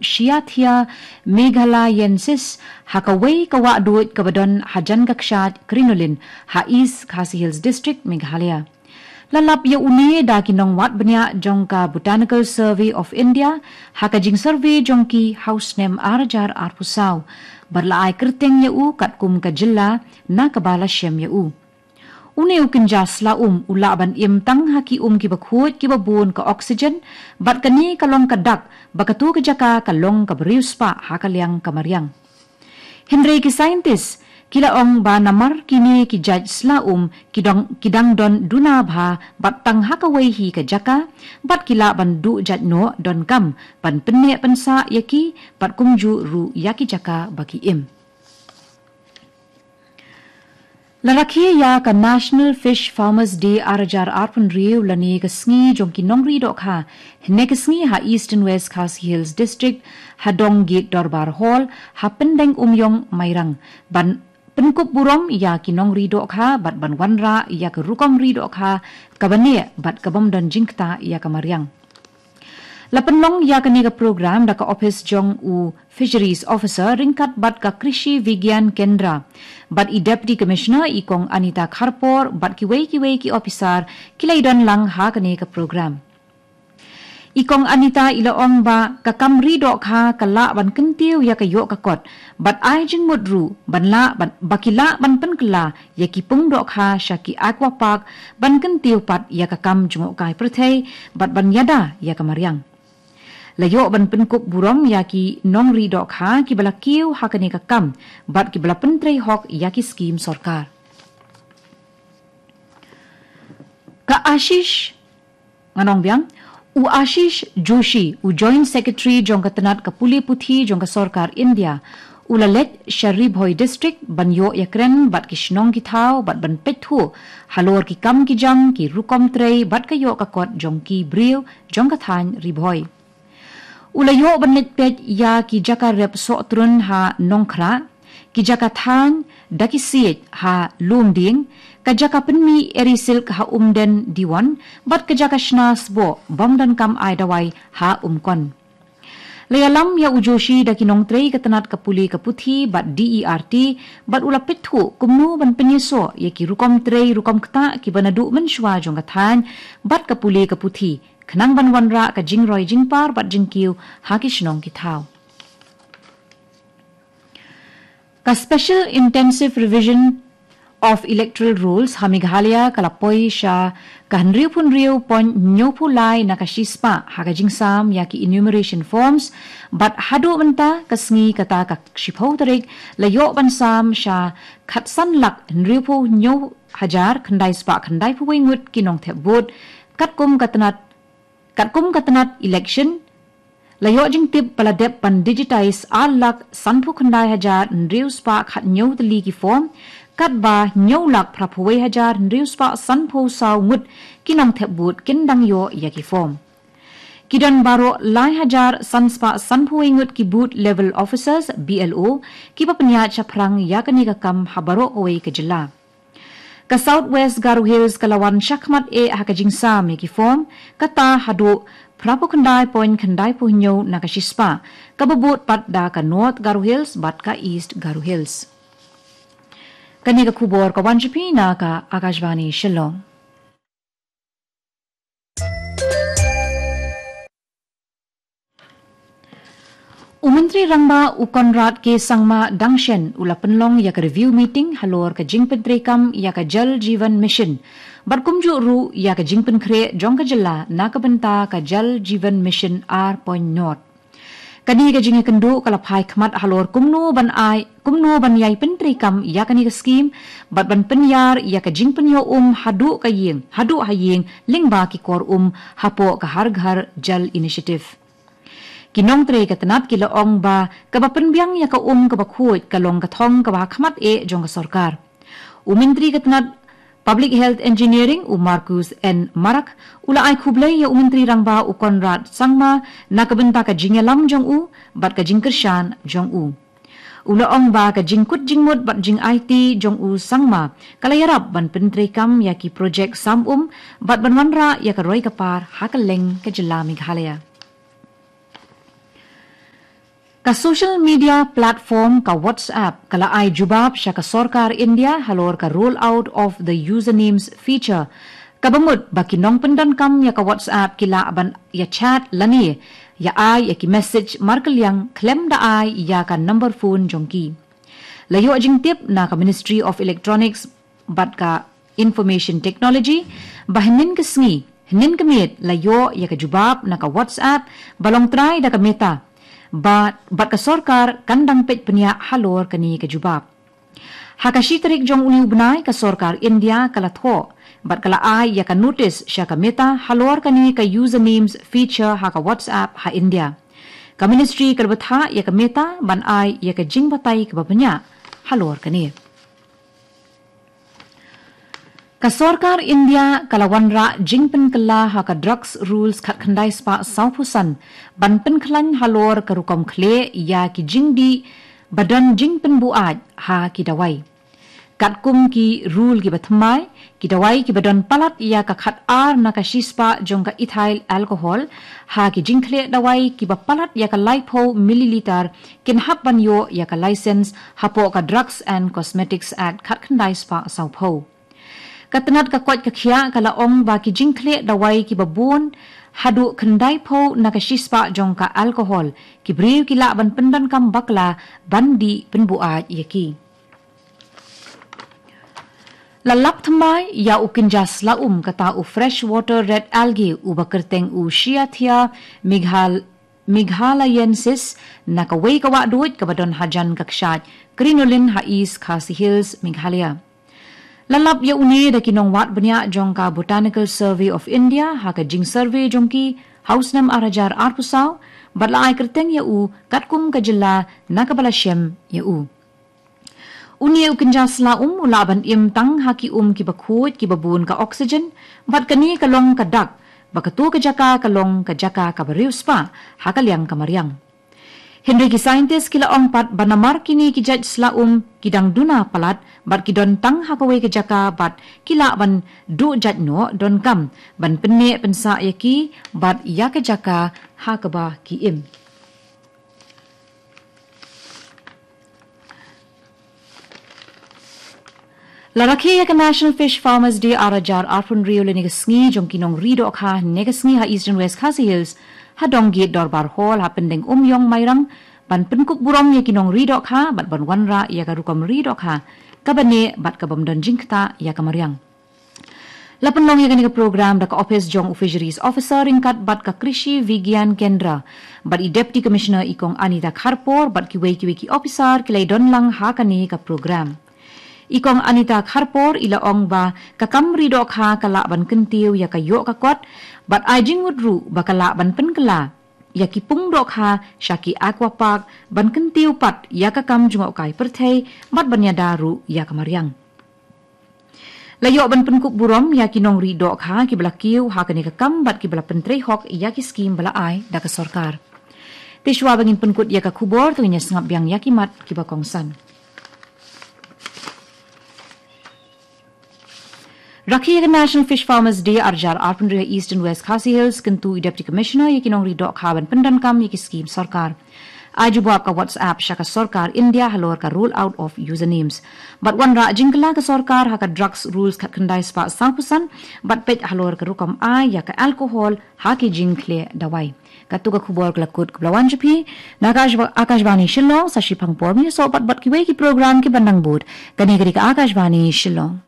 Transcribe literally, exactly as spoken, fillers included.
Cyathea meghalayensis ha kawei ka wahduid kaba don hajan ka kshaid crinoline ha East Khasi Hills District, Meghalaya. La lap ïa une da ki nongwad bniah jong ka Botanical Survey of India ha ka jingsurvey jong ki ha u snem ar hajar arphew saw, bad la ai kyrteng ïa u katkum ka jylla na kaba la shem ïa u. Une u kynja sla um u lah ban im tang ha ki um kiba khuid kiba bun ka oxygen, bad kane ka long ka dak ba kato ka jaka ka long kaba riewspah ha ka liang ka mariang. Hynrei ki scientist ki la ong ba namar kine ki jait sla um ki dang, ki dang don duna bha bad tang ha kawei hi ka jaka, bad ki lah ban duh jait noh donkam ban pynneh pynsah ïa ki, bad kumjuh ruh ïa ki jaka ba ki im. La rakhe ïa ka National Fish Farmers Day ar hajar arphew hynriew lane ka sngi jong ki nongri dohkha, hynne ka sngi ha Eastern West Khasi Hills District, ha Dong Gate Dorbar Hall, ha Pyndeng Umïong, Mairang, ban pynkup burom ïa ki nongri dohkha bad ban wanrah ïa ka rukom ri dohkha kaba neh bad ka bym don jingktah ïa ka mariang. La pynlong ïa kane ka program da ka ophis jong u Fisheries Officer ryngkat bad ka Krishi Vigyan Kendra, bad i Deputy Commissioner i Kong Anita Kharpor bad kiwei kiwei ki ophisar ki la ïadon lang ha kane ka program. I Kong Anita i la ong ba ka kam ri dohkha ka lah ban kyntiew ïa ka ïoh ka kot, bad ai jingmut ruh ban lah ban, ba ki lah ban pynkylla ïa ki pung dohkha sha ki aqua park ban kyntiew pat ïa ka kam jngohkai pyrthei bad ban ïada ïa ka mariang. La ïoh ban pynkup burom ïa ki nongri dohkha kiba la kiew ha kane ka kam bad kiba la pyntrei hok ïa ki skim sorkar. Ka Ashish, ngan ong biang, u Ashish Joshi, u Joint Secretary jong ka tnat ka pule puthi jong ka sorkar India, u la leit sha Ri Bhoi District ban ïoh ïakren bad ki shnong ki thaw bad ban peit thuh halor ki kam ki jam, ki rukom trei bad ka ïoh ka kot jong ki briew jong ka thaiñ Ri Bhoi. U la ïoh ban leit peit ïa ki jaka rep sohtrun ha Nongkhrah, ki jaka thaiñ da ki siej ha Lumdieng, ka jaka pynmih eri silk ha Umden Diwon, bad ka jaka shna sboh bym donkam ai dawai ha Umkon. La ïalam ïa u Joshi da ki nongtrei ka tnat ka pule ka puthi bad D E R T, bad u la peit thuh kumno ban pynïasoh ïa ki rukom trei rukom ktah kiba naduh mynshuwa jong ka thaiñ bad ka pule ka puthi, khnang ban wanrah ka jingroi jingpar bad jingkiew ha ki shnong ki thaw. Ka Special Intensive Revision of Electoral Rolls ha Meghalaya ka la poi sha ka hynriewphew hynriew point hynñiewphew lai na ka shispah ha ka jingsam ïa ki enumeration forms, bad haduh mynta ka sngi kata ka shiphew tarik la ïoh ban sam sha khatsan lak hynriewphew hynñiew hajar khyndai spah khyndaiphew wei ngut ki nongthep vote, katkum ka tnat, katkum ka tnat election, la ïoh jingtip ba la dep ban digitize ar lak sanphew khyndai hajar hynriew spah khathynñiew tylli ki form, katba hynñiew lak phraphew wei hajar hynriew spah sanphew saw ngut ki nongthep vote kin dang ïoh ïa ki form. Ki don baroh lai hajar san spah sanphew wei ngut ki booth level officers, B L O, kiba pynïaid shaphrang ïa kane ka kam ha baroh kawei ka jylla. Ka South West Garo Hills ka la wan shakhmat eh ha ka jingsam ïa ki form, kata haduh phraphew khyndai point khyndaiphew hynñiew na ka shispah, kaba bud pat da ka North Garo Hills bad ka East Garo Hills. Kane ka khubor ka wan sha phi na ka Akashvani Shillong. U Myntri Rangbah u Conrad K Sangma dang shen u la pynlong ïa ka review meeting halor ka jingpyntreikam ïa ka Jal Jeevan Mission, bad kumjuh ruh ïa ka jingpynkhreh jong ka jylla na ka bynta ka Jal Jeevan Mission ar point nought. Kane ka jingïakynduh ka la phai khmat halor kumno ban ai, kumno ban ïai pyntreikam ïa kane ka skim, bad ban pynïar ïa ka jingpynïoh um haduh ka ïing, haduh ha ïing, lyngba ki kor um hapoh ka Har Ghar Jal Initiative. Ki nongtrei ka tnat ki la ong ba kaba pynbiang ïa ka um kaba khuid ka long ka thong kaba ha khmat eh jong ka sorkar. U Myntri ka tnat Public Health Engineering, u Marcuise N Marak, u la ai khublei ïa u Myntri Rangbah u Conrad Sangma na ka bynta ka jingïalam jong u bad ka jingkyrshan jong u. U la ong ba ka jingkut jingmut bad jingaiti jong u Sangma ka la ïarap ban pyntreikam ïa ki projek sam um bad ban wanrah ïa ka roi ka par ha kylleng ka jylla Meghalaya. Ka social media platform ka WhatsApp ka la ai jubab sha ka sorkar India halor ka rollout of the usernames feature, kaba mut ba ki nongpyndonkam ïa ka WhatsApp ki lah ban ïa chat lane ïa ai ïa ki message markylliang khlem da ai ïa ka number phone jong ki. La ïoh jingtip na ka Ministry of Electronics bad ka Information Technology ba hynnin ka sngi, hynnin ka miet la ïoh ïa ka jubab na ka WhatsApp ba long trai da ka Meta, bad, bad ka sorkar kan dang peit pynïaid halor kane ka jubab. Ha ka shi tarik jong une u bnai ka sorkar India ka la thoh bad ka la ai ïa ka notis sha ka Meta halor kane ka usernames feature ha ka WhatsApp ha India. Ka ministry ka la bthah ïa ka Meta ban ai ïa ka jingbatai kaba bniah halor kane. Ka sorkar India ka la wanrah jingpynkylla ha ka Drugs Rules khatkhyndai spah sawphew san ban pynkhlaiñ halor ka rukom khlieh ïa ki jingdih ba don jingpynbuaid ha ki dawai. Katkum ki rule kiba thymmai, ki dawai kiba don palat ïa ka khatar na ka shispah jong ka ethyl alcohol ha ki jingkhlieh dawai kiba palat ïa ka laiphew milliliter kin hap ban ïoh ïa ka license hapoh ka Drugs and Cosmetics Act khatkhyndai spah sawphew. Ka tnat ka koit ka khiah ka la ong ba ki jingkhlieh dawai kiba bun haduh khyndaiphew na ka shispah jong ka alcohol, ki briew ki lah ban pyndonkam bakla ban dih pynbuaid ïa ki. La lap thymmai ïa u kynja sla um kata u freshwater red algae uba kyrteng u Cyathea meghal-, meghalayensis na kawei ka wahduid kaba don hajan ka kshaid Crinoline ha East Khasi Hills, Meghalaya. La lap ïa une da ki nongwad bniah jong ka Botanical Survey of India ha ka jingsurvey jong ki ha u snem ar hajar arphew saw, bad la ai kyrteng ïa u katkum ka jylla na kaba la shem ïa u. Une u kynja sla um u lah ban im tang ha ki um kiba khuid kiba bun ka oxygen, bad kane ka long ka dak ba kato ka jaka ka long ka jaka kaba riewspah ha ka liang ka mariang. Hynrei ki scientist ki la ong pat ba namar kine ki jait sla um ki dang duna palat bad ki don tang ha kawei ka jaka bad ki lah ban duh jait noh donkam ban pynneh pynsah ïa ki bad ïa ka jaka ha kaba ki im. La rakhe ïa ka National Fish Farmers Day ar hajar arphew hynriew lane ka sngi jong ki nongri dohkha ne ka sngi ha Eastern West Khasi Hills ha Donggate Dorbar Hall ha Pyndengumiong, Mairang, ban pynkup burom ïa ki nongri dohkha bad ban wanrah ïa ka rukom ri dohkha kaba neh bad kabym don jingktah ïa ka mariang. La pynlong ïa kane ka program da ka ophis jong u Fisheries Officer ryngkat bad ka Krishi Vigyan Kendra bad i Deputy Commissioner i Kong Anita Kharpor bad kiwei kiwei ki officer ki la ïadon lang ha kane ka program. I Kong Anita Kharpor i la ong ba ka kam ri dohkha ka lah ban kyntiew ïa ka ïoh ka kot bad ai jingmut ruh ba ka lah ban pynkylla ïa ki pung dohkha sha ki aqua park ban kyntiew pat ïa ka kam jngohkai pyrthei bad ban ïada ruh ïa ka mariang. La ïoh ban pynkup burom ïa ki nongri dohkha kiba la kiew ha kane ka kam bad kiba la pyntrei hok ïa ki skim ba la ai da ka sorkar. Te shuwa ba ngin pynkut ïa ka khubor, to ngin ïa sngap biang ïa ki mat kiba kongsan. Rakhe ïa ka National Fish Farmers Day ar hajar arphew hynriew ha Eastern West Khasi Hills, kyntu i Deputy Commissioner ïa ki nongri dohkha ban pyndonkam ïa ki skim sorkar. Ai jubab ka WhatsApp sha ka sorkar India halor ka roll out of usernames. Bad wanrah jingkylla ka sorkar ha ka Drugs Rules khatkhyndai spah sawphew san bad peit halor ka rukom ai ïa ka alcohol ha ki jingkhlieh dawai. Kato ka khubor ka la kut kaba la wan sha phi na Akashva-, Akashvani Shillong. Sa shiphang por ngin ïasoh pat bad kiwei ki program kiban nang bud. Kane ka dei ka Akashvani Shillong.